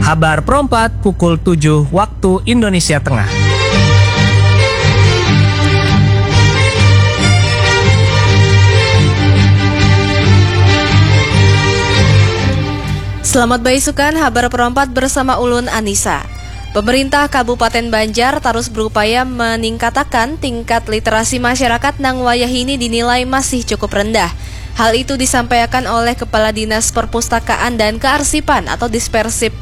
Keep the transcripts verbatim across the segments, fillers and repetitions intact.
Habar perempat pukul tujuh waktu Indonesia Tengah. Selamat baisukan, habar perempat bersama ulun Anissa. Pemerintah Kabupaten Banjar terus berupaya meningkatakan tingkat literasi masyarakat nang wayahini dinilai masih cukup rendah. Hal itu disampaikan oleh Kepala Dinas Perpustakaan dan Kearsipan atau Dispersip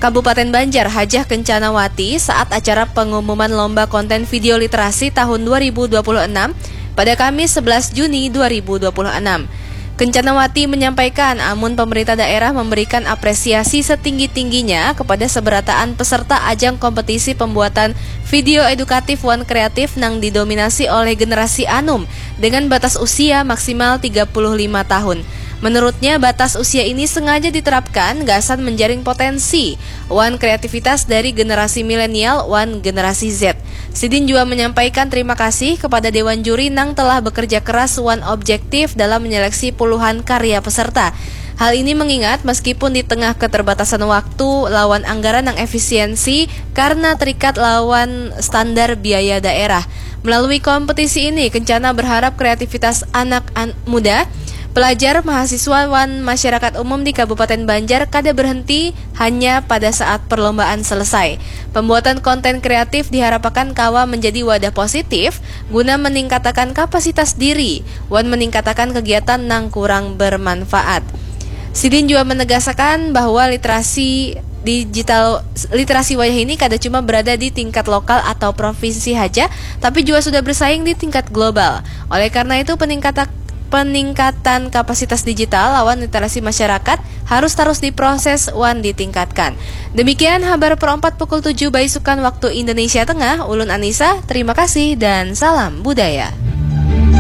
Kabupaten Banjar, Hajah Kencanawati, saat acara pengumuman lomba konten video literasi tahun dua ribu dua puluh enam pada Kamis sebelas Juni dua ribu dua puluh enam. Kencanawati menyampaikan, amun pemerintah daerah memberikan apresiasi setinggi-tingginya kepada seberataan peserta ajang kompetisi pembuatan video edukatif wan kreatif nang didominasi oleh generasi anum dengan batas usia maksimal tiga puluh lima tahun. Menurutnya, batas usia ini sengaja diterapkan gasan menjaring potensi wan kreativitas dari generasi milenial wan generasi Z. Sidin juga menyampaikan terima kasih kepada Dewan Juri nang telah bekerja keras wan objektif dalam menyeleksi puluhan karya peserta. Hal ini mengingat, meskipun di tengah keterbatasan waktu lawan anggaran yang efisiensi karena terikat lawan standar biaya daerah. Melalui kompetisi ini, Kencana berharap kreativitas anak an- muda, pelajar, mahasiswa, wan masyarakat umum di Kabupaten Banjar kada berhenti hanya pada saat perlombaan selesai. Pembuatan konten kreatif diharapkan kawa menjadi wadah positif guna meningkatakan kapasitas diri wan meningkatakan kegiatan nang kurang bermanfaat. Sidin juga menegaskan bahwa literasi digital, literasi wayah ini kada cuma berada di tingkat lokal atau provinsi haja, tapi juga sudah bersaing di tingkat global. Oleh karena itu, peningkatan peningkatan kapasitas digital lawan literasi masyarakat harus terus diproses wan ditingkatkan. Demikian habar perempat pukul tujuh baisukan waktu Indonesia Tengah. Ulun Anissa, terima kasih dan salam budaya.